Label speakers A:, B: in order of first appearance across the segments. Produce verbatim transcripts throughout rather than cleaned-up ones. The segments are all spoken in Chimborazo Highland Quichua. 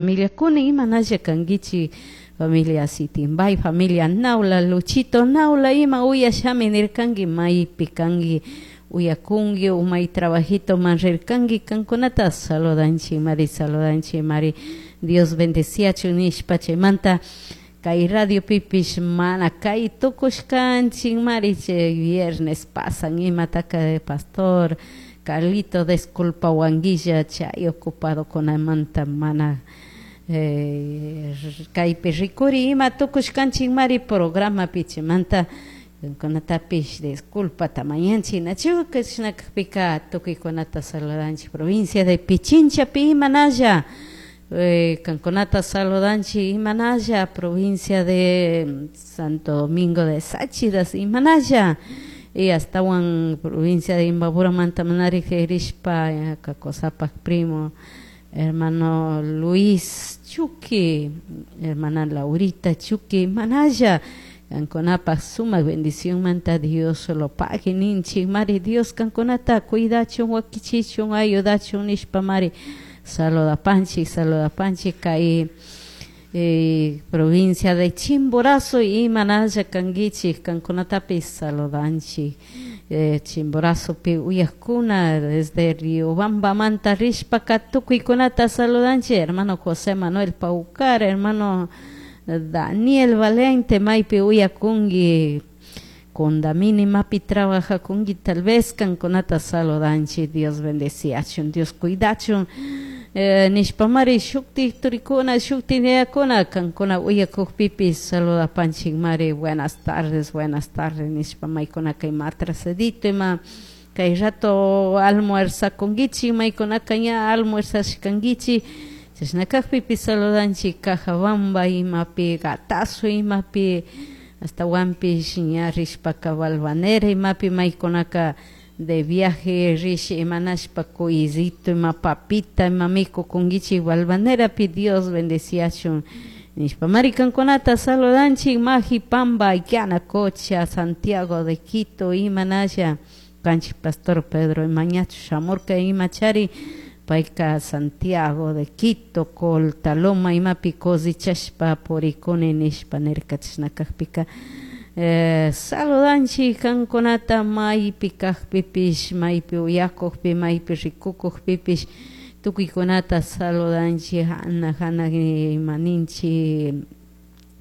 A: Familiakuna imanalla kankichik familia Sitimbay, familia Naula, Luchito Naula ima uyashami nirkanki maypi kanki uyakunki umay trabajito man rirkanki kankunata saludanchik mari saludanchik mari Dios bendeciachun nishpa chaymanta kay radio pipish mana kay tukushkanchik mari chay viernes pasan imataka pastor Carlito disculpawanguilla chay ocupado kunamanta mana eh, kaypi rikuri ima tukushkanchik mari programapi chaymanta kunatapish disculpata mañanchik nachu chashna kakpika tukuykunata saludanchik provincia de Pichinchapi imanalla eh, kankunata saludanchik imanalla provincia de Santo Domingo de Tsáchilas imanalla y astawan provincia de Imbabura-manta manari rishpa Kakosapak primo hermano Luis Chuqui, hermana Laurita Chuqui, manalla kankunapaq sumak bendición manta Dios lo pague ninchik mari Dios kankunata cuidachun wakichichun ayudachun nishpa mari saludapanchik saludapanchik kay eh, provincia de Chimborazo imanalla kankichik kankunatapis saludanchik eh, Chimborazopi uyakuna desde Riobambamanta rishpaka tukuykunata saludanchik hermano José Manuel Paucar hermano Daniel Valente maypi uyakunki Condamini mapi trabajakunki tal vez kankunata saludanchik Dios bendeciachun Dios cuidachun eh, nishpamari shuktik turikuna shuktik yayakuna kankuna uyakukpipis saludapanchik mari buenas tardes buenas tardes nishpa maykuna kay matrasadito ima kay rato almuerzakunkichik maykunaka ña almuerzashkankichik chashna kakpipish saludanchik Cajabamba imapi Gatazo imapi ashtawanpish ña rishpaka Valvanera imapi maykunaka de viaje rish imanashpa cuycito ima papita ima mikukunkichik Valvanerapi Dios bendeciachun nishpa mari kankunata saludanchik Majipamba Yanacocha Santiago de Quito imanalla kanchik pastor Pedro imañachu shamurka imachari payka Santiago de Quito Coltaloma imapi cosechashpa purikuni nishpa nirka chashna kakpika eh, saludanchik kankunata maypi kakpipish maypi uyakukpi maypi rikukukpipish tukuykunata saludanchik hana hana ima ninchik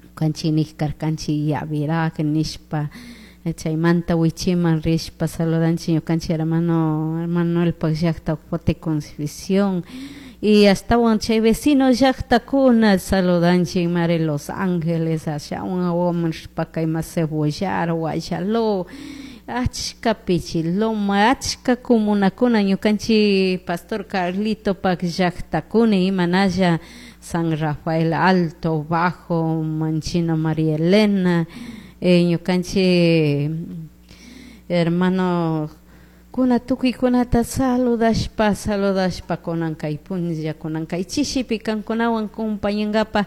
A: ñukanchik nik karkanchik Yavirak nishpa chaymanta wichiman rishpa saludanchik ñukanchik hermano Manuelpak llakta Pote Concepción y ashtawan chay vecino llaktakuna saludanchik mari Los Ángeles ashawan wawaman rishpaka ima Cebollar, Guayaló achka Pichiloma achka comunakuna ñukanchik pastor Carlitopak llaktakuna imanalla San Rafael Alto, Bajo, Manchina María Elena eh, ñukanchik hermano kuna tukuykunata saludashpa saludashpa kunan kay punlla kunan kay chishipi kankunawan compañankapa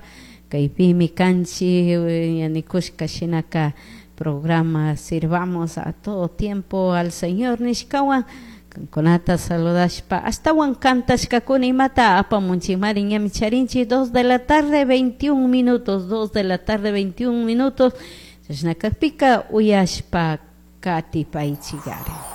A: kaypimi kanchik ña nikushka shinaka programa sirvamos a todo tiempo al Señor nishkawan kankunata saludashpa ashtawan kantashkakuna imata apamunchikmari ñami charinchik dos de la tarde veintiún minutos dos de la tarde veintiún minutos chashna kakpika uyashpa katipaychikari.